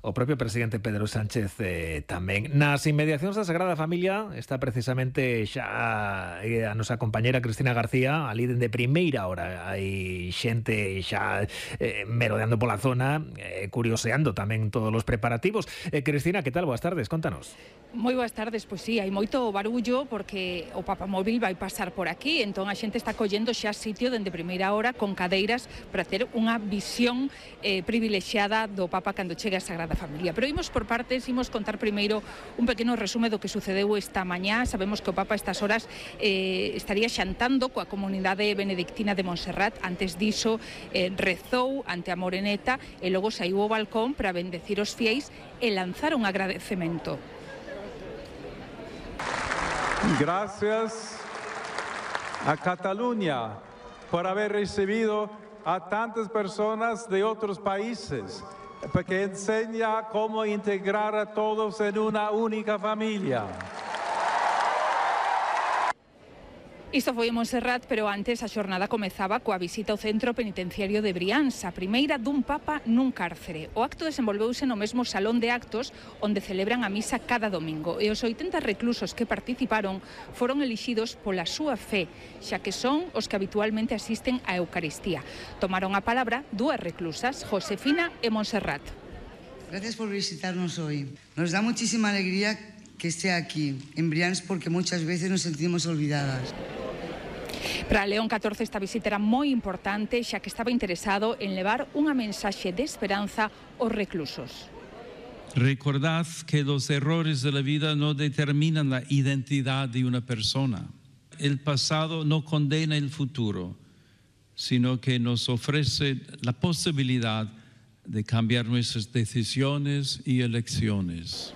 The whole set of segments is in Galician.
O propio presidente Pedro Sánchez tamén. Nas inmediacións da Sagrada Familia está precisamente xa a nosa compañera Cristina García, ali dende primeira hora. Hai xente xa merodeando pola zona, curioseando tamén todos os preparativos. Cristina, que tal? Boas tardes, contanos. Moi boas tardes, pois sí, hai moito barullo porque o Papamóvil vai pasar por aquí, entón a xente está collendo xa sitio dende primeira hora con cadeiras para ter unha visión privilexiada do Papa cando chegue a Sagrada Familia. Pero imos por partes, imos contar primeiro un pequeno resume do que sucedeu esta mañá. Sabemos que o Papa estas horas estaría xantando coa comunidade benedictina de Montserrat. Antes diso rezou ante a Moreneta e logo saiu ao balcón para bendecir os fiéis e lanzar un agradecemento. Gracias a Cataluña por haber recibido a tantas personas de otros países, porque enseña cómo integrar a todos en una única familia. Isto foi en Montserrat, pero antes a xornada comezaba coa visita ao centro penitenciario de Brianza, a primeira dun Papa nun cárcere. O acto desenvolveuse no mesmo salón de actos onde celebran a misa cada domingo e os 80 reclusos que participaron foron elixidos pola súa fe, xa que son os que habitualmente asisten á Eucaristía. Tomaron a palabra dúas reclusas, Josefina e Montserrat. Gracias por visitarnos hoy. Nos da muchísima alegría que esté aquí, en Brianza, porque muchas veces nos sentimos olvidadas. Para León XIV esta visita era moi importante, xa que estaba interesado en levar unha mensaxe de esperanza aos reclusos. Recordad que los errores de la vida no determinan la identidad de una persona. El pasado no condena el futuro, sino que nos ofrece la posibilidad de cambiar nuestras decisiones y elecciones.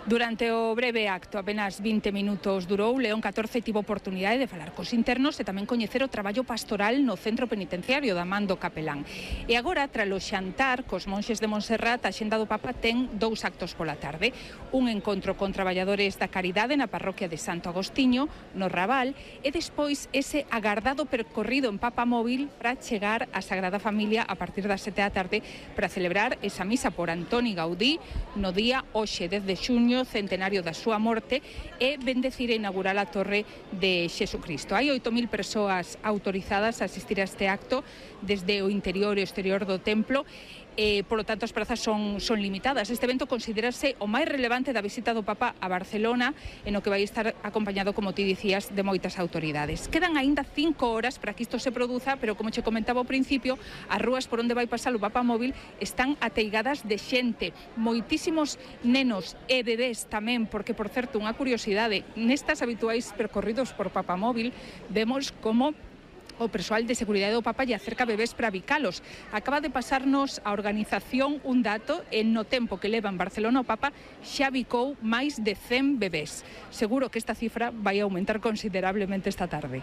Durante o breve acto, apenas 20 minutos durou, León XIV tivo oportunidade de falar cos internos e tamén coñecer o traballo pastoral no centro penitenciario da man do capelán. E agora, tras o xantar cos monxes de Montserrat, a xenda do Papa ten dous actos pola tarde. Un encontro con traballadores da caridade na parroquia de Santo Agostiño, no Raval, e despois ese agardado percorrido en Papamóvil para chegar á Sagrada Familia a partir das 7 da tarde para celebrar esa misa por Antoni Gaudí no día hoxe 10 de xuño, centenario da súa morte, e bendecir e inaugurar a Torre de Xesucristo. Hai 8.000 persoas autorizadas a asistir a este acto desde o interior e o exterior do templo. Por lo tanto, as prazas son limitadas. Este evento considerase o máis relevante da visita do Papa a Barcelona, en o que vai estar acompañado, como ti dicías, de moitas autoridades. Quedan aínda 5 horas para que isto se produza, pero como che comentaba ao principio, as rúas por onde vai pasar o Papamóvil están ateigadas de xente, moitísimos nenos e bebés tamén, porque, por certo, unha curiosidade, nestas habituais percorridos por Papamóvil vemos como o persoal de seguridade do Papa lle acerca bebés para bicalos. Acaba de pasarnos a organización un dato, en no tempo que leva en Barcelona o Papa xa bicou máis de 100 bebés. Seguro que esta cifra vai aumentar considerablemente esta tarde.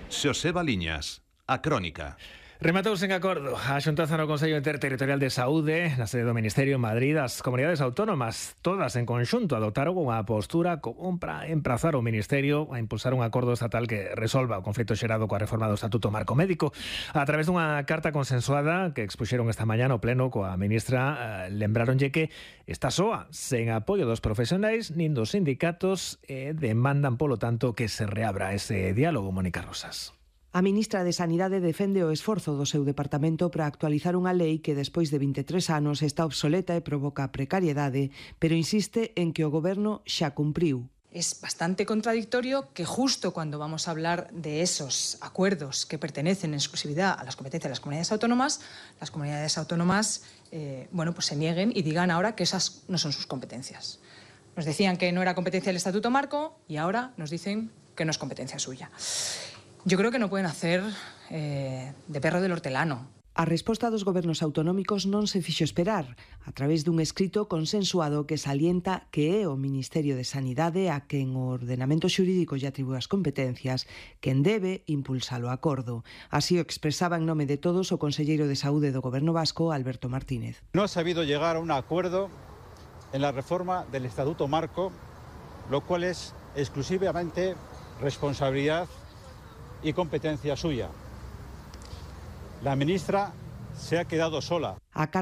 Xoseba Liñas, a Crónica. Rematouse en acordo a xuntanza no Consello Interterritorial de Saúde na sede do Ministerio en Madrid. As comunidades autónomas todas en conxunto adoptaron unha postura común para emprazar o Ministerio a impulsar un acordo estatal que resolva o conflito xerado coa reforma do Estatuto Marco Médico. A través dunha carta consensuada que expuxeron esta mañá no pleno coa ministra, lembraronlle que está soa, sen apoio dos profesionais nin dos sindicatos, e demandan polo tanto que se reabra ese diálogo. Mónica Rosas. A ministra de Sanidade defende o esforzo do seu departamento para actualizar unha lei que despois de 23 anos está obsoleta e provoca precariedade, pero insiste en que o goberno xa cumpriu. Es bastante contradictorio que justo cuando vamos a hablar de esos acuerdos que pertenecen en exclusividad a las competencias de las comunidades autónomas pues se nieguen y digan ahora que esas no son sus competencias. Nos decían que no era competencia del Estatuto Marco y ahora nos dicen que no es competencia suya. Yo creo que no pueden hacer de perro del hortelano. A resposta dos gobernos autonómicos non se fixo esperar, a través dun escrito consensuado que salienta que é o Ministerio de Sanidade a quen o ordenamento xurídico lle atribúe as competencias quen debe impulsar o acordo. Así o expresaba en nome de todos o conselleiro de Saúde do Goberno vasco, Alberto Martínez. No ha sabido llegar a un acuerdo en la reforma del Estatuto Marco, lo cual es exclusivamente responsabilidad y competencia suya. La ministra se ha quedado sola. A carta